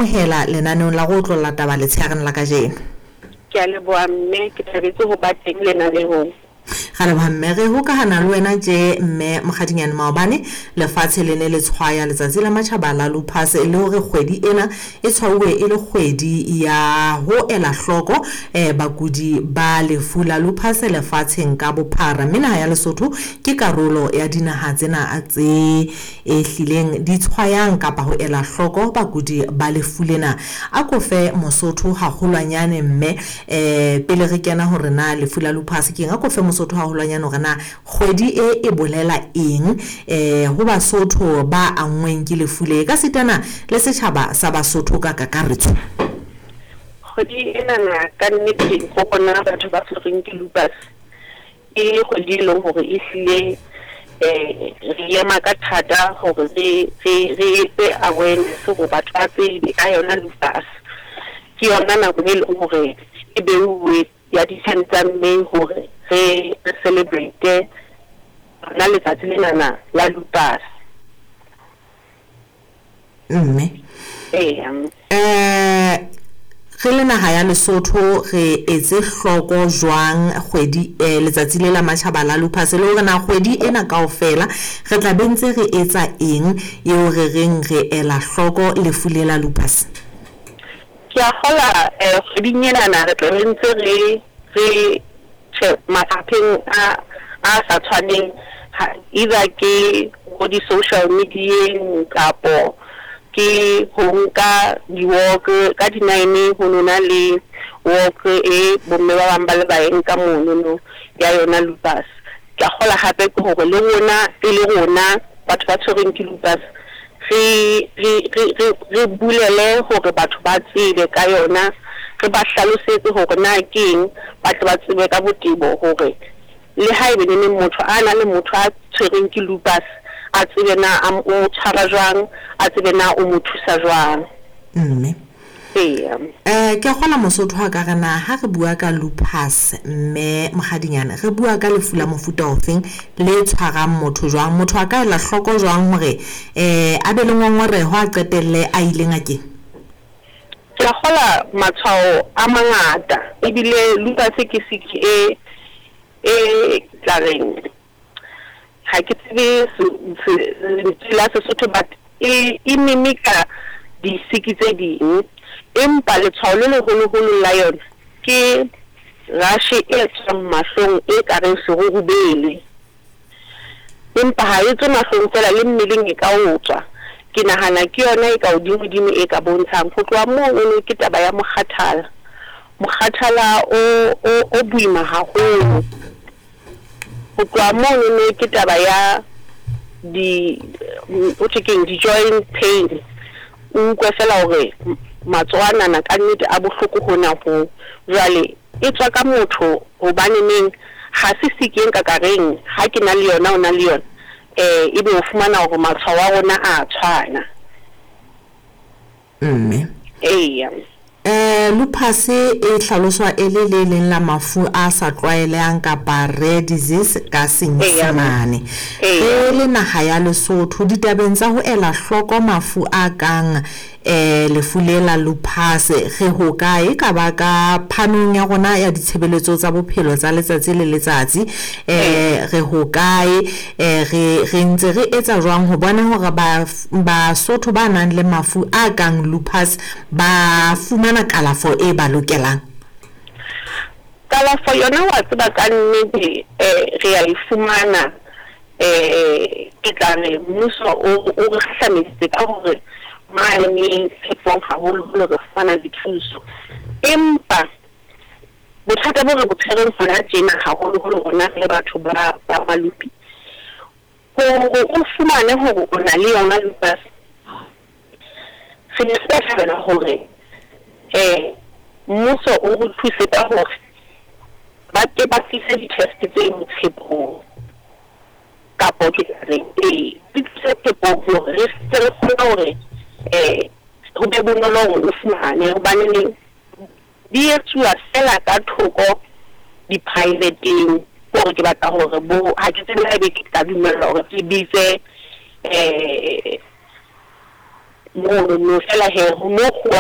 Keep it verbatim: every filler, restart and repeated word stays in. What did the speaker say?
Hela lenaneong la go otlolla taba letshegareng la kajeno. Ke a leboha mme, ke thabetse ho ba teng lenaneong. Ga leboha mme, re hokahana le wena tje mme Mokgadinyane. Maobane lefatshe le ne le tshwaya letsatsi la matjhaba la lupus, le hore kgwedi ena e tshwauwe e le kgwedi ya ho ela hloko eh bakudi ba lefu la lupus lefatsheng ka bophara. Mme naha ya Lesotho ke karolo ya dinaha tsena tse e hlileng di tshwayang kapa ho ela hloko bakudi ba lefu lena. A ko fe Mosotho haholwanyane mme eh pele re kena hore na lefu la lupus ke eng, a ko fe Mosotho haholwanyane hore na kgwedi e e bolela eng eh ho Basotho ba anngweng ke lefu le, ka sitana le setjhaba sa Basotho ka kakaretso. Kgwedi enana ka nnete ho rona batho ba tshwerweng ke lupus, ke kgwedi e leng hore ehlile eh re ema ka thata hore re re re etse awareness hore batho ba tsebe ka yona lupus. Ke yona nako e leng hore e beuwe ya di-ten tsa May hore re re celebrate lona letsatsi lenana la lupus. Mme Eya. eh re le naha ya Lesotho re etse hloko jwang kgwedi eh letsatsi le la matjhaba la lupus, le hore na kgwedi ena kaofela re tla be ntse re etsa eng eo re reng re ela hloko lefu le la lupus? Ke a kgola eh kgweding enana re tla be ntse re re tjhe mafapheng a a sa tshwaneng, either ke ho di-social media-eng kapo ke ho nka di-walk ka di-nine. Ho nona le walk e bomme ba bang ba le ba e nka monono ya yona lupus. Ke a kgola hape ke hore le rona e le rona batho ba tshwerweng ke lupus re re re re re bulele hore batho ba tsebe ka yona, re ba hlalosetse hore na ke eng, ba tle ba tsebe ka botebo hore le haebe neneng motho a na le motho a tshwerweng ke lupus, a tsebe na a o mo tshwara jwang, a tsebe na o mo thusa jwang. Mme Eya. eh ke a kgola Mosotho a ka re na ha re bua ka lupus mme Mokgadinyane, re bua ka lefu la mofuta ofeng, le tshwarang motho jwang? Motho a ka ela hloko jwang hore eh a be le ngongoreho a qetelle a ile ngakeng? Ke a kgola matshwao a mangata, ebile lupus ke siki e e tla reng, ha ke tsebe lentswe la Sesotho, but e e mimika disiki tse ding, empa letshwao le leholoholo la yona ke rash e tswang mahlong e ka reng serurubele, empa ha e tswe mahlong fela, le mmeleng e ka o tswa. Ke nahana ke yona e ka hodimo-dimo e ka bontshang. Ho tloha mono ke taba ya mokgathala, mokgathala o o o boima haholo. Ho tloha monono ke taba ya di ho thwe keng, di-joint pain, o utlwe fela hore matsoho anana ka nnete a bohloko hona ho. Jwale e tswa ka motho, hobaneneng ha se siki e nka ka reng ha ke na le yona o na le yona, eh ebe o fumana hore matshwao a rona a tshwana. Mme Eya. eh lupus e hlaloswa e le le leng la mafu a sa tlwaelehang kapa rare disease ka Senyesemane. Eya. Re le naha ya Lesotho ditabeng tsa ho ela hloko mafu a kang eh lefu le la lupus, re ho kae ka ba ka phanong ya rona ya ditshebeletso tsa bophelo tsa letsatsi le letsatsi? eh re ho kae, eh re re ntse re etsa jwang ho bona hore ba Basotho ba nang le mafu a kang lupus ba fumana kalafo e ba lokelang? Kalafo yona wa tseba ka nnete eh re a e fumana. Eh ke tla re mmuso o o re kgahlameditse ka hore mane tshepong haholoholo re fumana dithuso, empa bothata bo re bo tshwereng hona tjena haholoholo rona re le batho ba ba malupi, hore o fumane hore o na le yona lupus, re ne re ka thabela hore eh mmuso o re thuse ka hore ba ke ba tlise di-test tse tshepong, kapo ke tla reng ee di tlise tshepong hore re tle re kgone hore eh ho be bonolo hore o fumane, hobaneneng di etsuwa fela ka thoko di-private-eng. Hore ke batla hore bo ha ke tsebe haebe ke tla dumellwa hore ke bitse eh Mono no fela he mo go